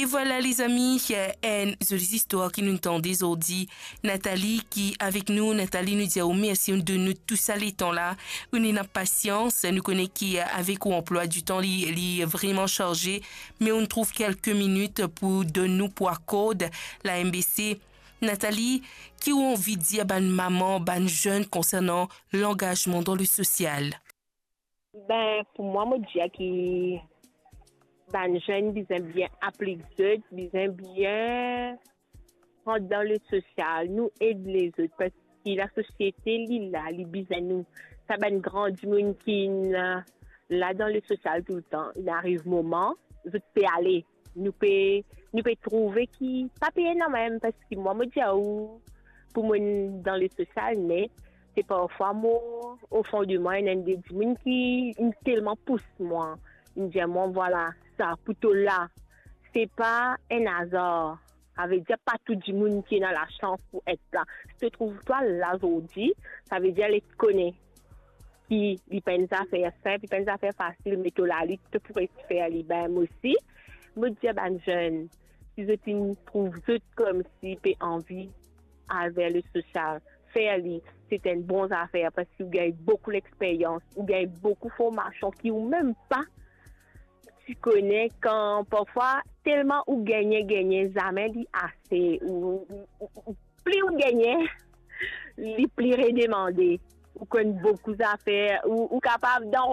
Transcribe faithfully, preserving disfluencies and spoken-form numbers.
E vwala, lezami, enn zoli zistwar ki nou tande zordi. Nathalie ki avek nou. Nathalie, nou dir ou mersi, ou donn nou tou sa letan la, ou ena pasians. Nou kone ki avek ou anplwa ditan li, li vreman sarze, me ou trouv kelke minit pou donn nou, pou akord la M B C. Nathalie, ki ou anvi dir bann mama, bann zenn konsernan langazman dan le sosial? Ben, pou mwa, mo dir ki bann zenn bizin bien aplik zot, bizin bien rant dan le sosial, nou ed lezot, parski lasosiete, li la, li bizin nou. Sa bann gran dimoun ki la, la dan le sosial toultan, li ariv moman, zot pe ale. Nou pe, nou pe trouve ki pa pe ena mem, parski mwa, mo dir ou, pou mwa, dan le sosial, me se parfwa mo, o fon de mwa, ena enn de dimoun ki, inn telman pous mwa, inn dir mwa, vwala, sa, pou to la, se pa enn azar. Savedir pa tou dimoun ki ena lasans pou et la. Si to trouv twa la zordi, savedir li kone ki li pa enn zafer sinp, li pa enn zafer fasil, me to la li, to pou res fer li. Ben, mo osi, mo dir bann zenn, si zot inn trouv zot koumsi pe anvi al ver le sosial, fer li, se enn bon zafer, parski ou gagn boukou lexperyans, ou gagn boukou formasion ki ou mem pa ti kone. Kan parfwa, telman ou gagne, gagne, zame li ase, ou, ou, ou, ou, pli ou gagne, li pli redemande. Ou konn boukou zafer, ou, ou kapav dan